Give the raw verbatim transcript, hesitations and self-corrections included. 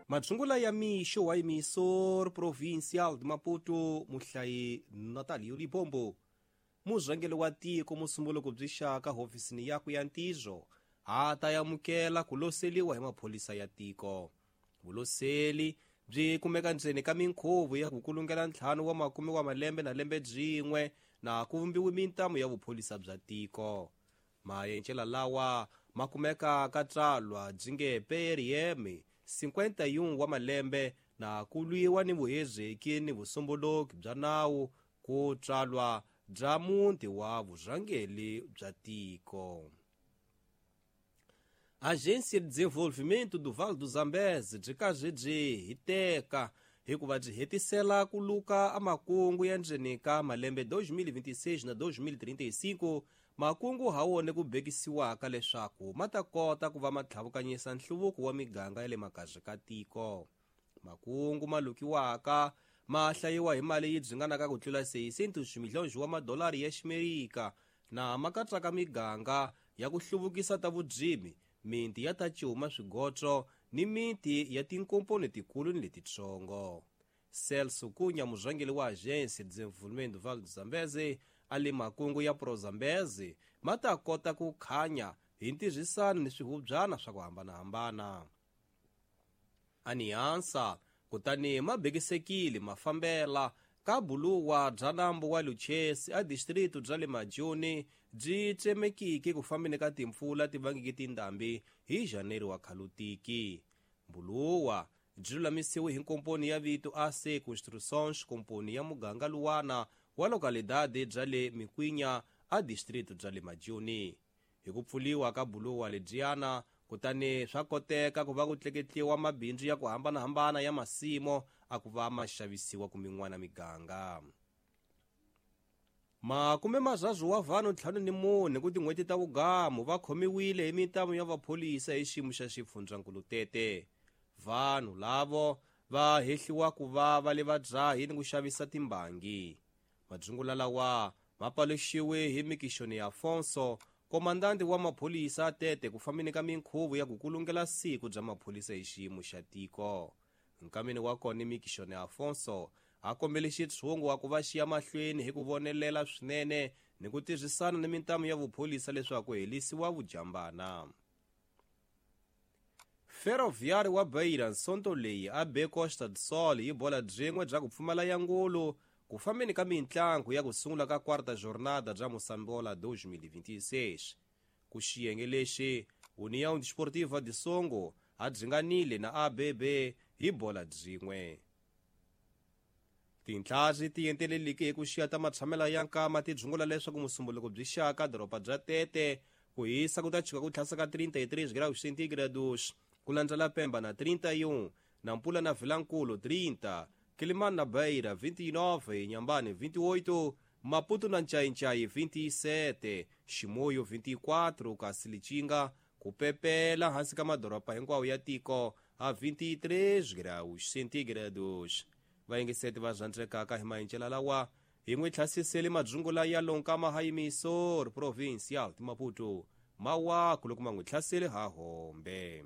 Madzungula ya mixo wa emissor provincial de Maputo muhlayi Natalio Libombo. Murhangeri wa tiko musumbuluko byi xaka hofisini yakwe ya ntirho a ta amukela ku loseliwa hi maphorisa ya tiko. Vuloseli byi kumeka ndzeni ka minkhuvo ya ku kulungela ntlhanu wa makume wa malembe na lembe byin'we na ku vumbiwe mintamu ya vupholisa bya tiko. Mayencela lawa ma kumeka ka tsalwa byi nge P R M cinquenta e um wa malembe na ku lwiwa ni vuhezeki ni vusomboloki bya nawu ku tswalwa bya muti wa vurhangeri bya tiko. Agência de Desenvolvimento do Vale do Zambeze byi karhi byi hiteka hikuva byi hetisela ku luka amakungu ya ndzeni ka malembe dois mil e vinte e seis na dois mil e trinta e cinco, makungu ha wona ku bekisiwaka leswaku ma ta kota ku va ma tlhavukanyisa nhluvuko wa miganga ya le makaya ka tiko. Makungu ma lukiwaka ma hlayiwa hi mali yi dzinganaka ku tlula seiscentos milhões wa madolari ya Ximerika na ma katsaka miganga ya ku hluvukisa ta vudzimi, miti ya ta cuma swigotso ni miti ya tinkomponi tikulu ni letitsongo. Celso Cunha, murhangeri wa Agência de Desenvolvimento do Vale do Zambeze, a le makungu ya Pro Zambeze ma ta kota ku khanya hi ntirhisano ni swihubyana swa ku hambanahambana. Aniansa kutani ma bekisekile ma fambela ka buluwa bya nambu wa Luchesi a distrito bya le Majoni byi tsemekiki ku fambeni ka timpfula ti vangeke tindhambi hi Janeiro wa khalutiki. Buluwa byi lulamisiwe hi nkomponi ya vito A C Construções, komponi ya muganga luwana wa localidade bya le Mikwinya a distrito bya le Majoni. Hi ku pfuliwa ka buluwa lebyiyana kutani swa koteka ku va ku tleketliwa mabindzu ya ku hambanahambana ya masimo a ku va ma xavisiwa kumin'wana miganga. Makume mazazwu wa vanhu ntlhanu ni mune ku tin'hweti ta vugamu va khomiwile hi mintamu ya vapholisa hi xiyimo xa xifundzankulu Tete. Vanhu lavo va hehliwa ku va va le vadzahi ni ku xavisa timbangi. Madzungula lawa ma paluxiwe hi Mikixoni ya Afonso, komandante wa mapholisa Tete, ku fambeni ka minkhuvo ya ku kulungela siku bya mapholisa hi xiyimo xa tiko. Nkameni wa kona Mikixoni Afonso a kombele xitshungu wa ku va xiya mahlweni hi ku vonelela swinene ni ku tirhisana ni mintamu ya vupholisa leswaku helisiwa vujambana. Ferroviário wa Beira nsonto leyi a be Costa do Sol yi bola byin'we bya ku pfumala ya ngulu ku fambeni ka mintlangu ya ku sungula ka quarta jornada bya Moçambola dois mil e vinte e seis. Ku xiyenge lexi União Desportiva de Songo a dzinganile na A B B hi bola byin'we. Tintlhari ti enteleleke hi ku xiya ta matshamela ya nkama ti dzungula leswaku musumbuluko byi xaka doroba bya Tete ku hisa ku ta chika ku tlhasa ka trinta e três graus centígrados, ku landzela Pemba na trinta e um, Nampula na Vilankulu trinta, Quelimane na Beira vinte e nove, Inhambane vinte e oito, Maputo na Nchainchai vinte e sete, Chimoio vinte e quatro, Kassilitinga ku pepela hansi ka madoroba hinkwawo ya tiko a vinte e três graus centígrados. Vayingiseti va zwandzekaka hi mayincela lawa hi n'wi tlhasisele madzungula ya lonkama ha emissor provincial de Maputo mawaku loko ma n'wi tlhasele ha hombe.